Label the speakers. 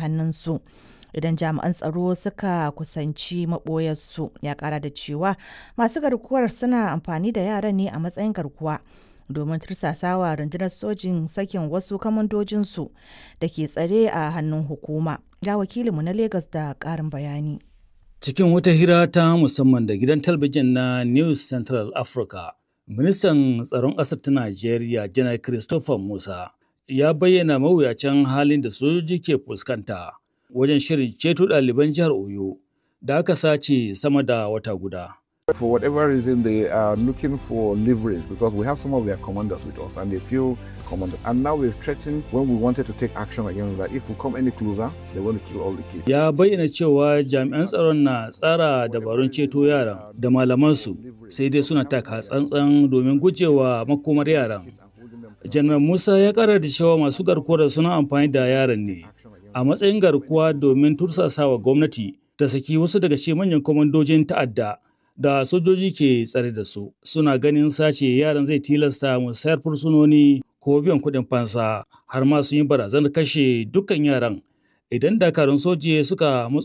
Speaker 1: hannunsu. Idan jami'an tsaro suka kusanci maɓoyarsu ya ƙara da cewa masu garkuwar suna amfani da yaran ne a matsayin garkuwa domin tursasawa rundunar sojin sakin wasu kamandojinsu da ke tsare a hannun hukuma. Ga wakilinmu na Legas da ƙarin bayani.
Speaker 2: Cikin wata hira ta musamman da gidan talabijin na News Central Africa, ministan tsaron ƙasar ta Najeriya, Janar Christopher Musa, ya bayyana mawuyacin halin da sojoji ke fuskanta wajen shirin ceto ɗaliban jihar Oyo da aka sace sama da wata guda.
Speaker 3: For whatever reason, they are looking for leverage because we have some of their commanders with us and they feel commanded. And now we've threatened when we wanted to take action against that if we come any closer, they're going to kill all the kids.
Speaker 2: Ya bayyana cewa jami'an tsaron na tsara dabarun ceto yaran da malamansu sai dai suna taka tsantsan domin gujewa makomar yaran. Janar Musa ya kara da cewa masu garkuwar suna amfani da yaran ne a matsayin garkuwa domin tursasawa gwamnati ta saki wasu daga cikin manyan kwamandojin ta'adda da sojoji ke tsare da su. Suna ganin sace yaran zai tilasta musayar fursunoni ko biyan kuɗin fansa har ma sun yi barazanar kashe dukkan yaran idan dakarun soje suka matso.